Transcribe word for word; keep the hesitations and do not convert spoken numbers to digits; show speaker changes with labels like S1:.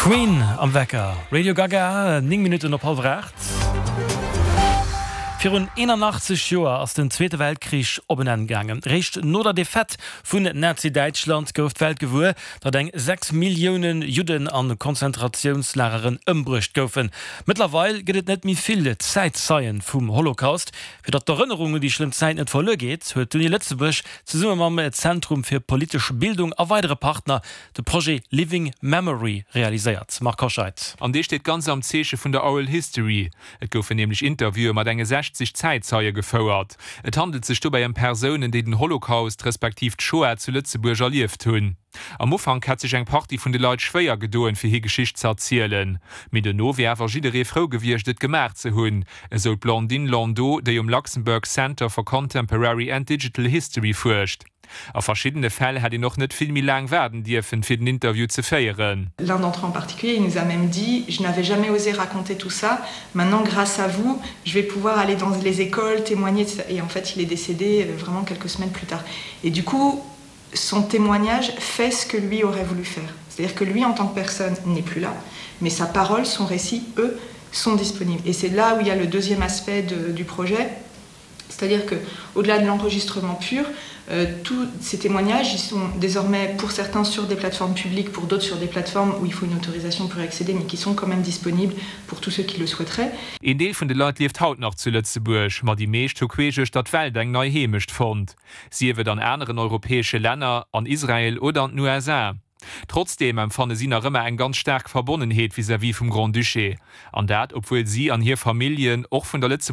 S1: Queen am Wecker. Radio Gaga, néng Minutten op hallwer aacht. Virun eenanachtzeg Joer ass den Zweete Weltkrich op en Enn gaangen. Réischt no der Defaite vun Nazi-Däitschland gouf d'Welt gewuer, datt eng sechs Millioune Judden a Konzentratiounslageren ëmbruecht goufen. Mëttlerweil gëtt et net méi vill Zäitzeien vum Holocaust. Fir datt d'Erënnerung un déi schlëmm Zäit net verluer geet, huet d'Uni Lëtzebuerg zesumme mam Zentrum fir politesch Bildung a weidere Partner de Projet Living Memory realiséiert. Marc Hoscheid.
S2: An dee steet ganz am Zeeche vun der Oral History. Et goufen nämlech Interviewe mat enge sechzeg Zäitzeie gefouert. Et handelt sech dobäi ëm Persounen, déi den Holocaust respektiv d'Shoah zu Lëtzebuerg erlieft hunn. Am Ufank hätt sech eng Partie vun de Leit schwéier gedoen, fir hir Geschicht ze erzielen. Mee dono wier awer jidderee frou gewiescht, et gemaach ze hunn, esou d'Blandine Landot, déi um Luxembourg Center for Contemporary and Digital History fuerscht. A verschiddene Fäll hätt een och net vill méi laang waarden dierfen, fir den Interview ze féieren.
S3: L'un d'entre eux en particulier, il nous a même dit: «Je n'avais jamais osé raconter tout ça. Maintenant, grâce à vous, je vais pouvoir aller dans les écoles, témoigner.» Et en fait, il est décédé euh, vraiment quelques semaines plus tard. Et du coup, son témoignage fait ce que lui aurait voulu faire. C'est-à-dire que lui, en tant que personne, n'est plus là, mais sa parole, son récit, eux, sont disponibles. Et c'est là où il y a le deuxième aspect de, du projet, c'est-à-dire que au-delà de l'enregistrement pur, euh, tous ces témoignages, ils sont désormais pour certains sur des plateformes publiques, pour d'autres sur des plateformes où il faut une autorisation pour y accéder, mais qui sont quand même disponibles pour tous ceux qui le souhaiteraient.
S2: Een Deel vun de Leit lieft haut nach zu Lëtzebuerg, ma déi meescht hu queesch uechter d'Welt eng nei Heemecht fonnt. Sief et an aneren europäesche Länner, an Israel oder an den U S A. Trotzdeem empfanne si nach ëmmer eng ganz staark Verbonnenheet vis-à-vis vum Grand-Duché. An dat, obwuel si an hir Familljen och vun der Lëtzebuerger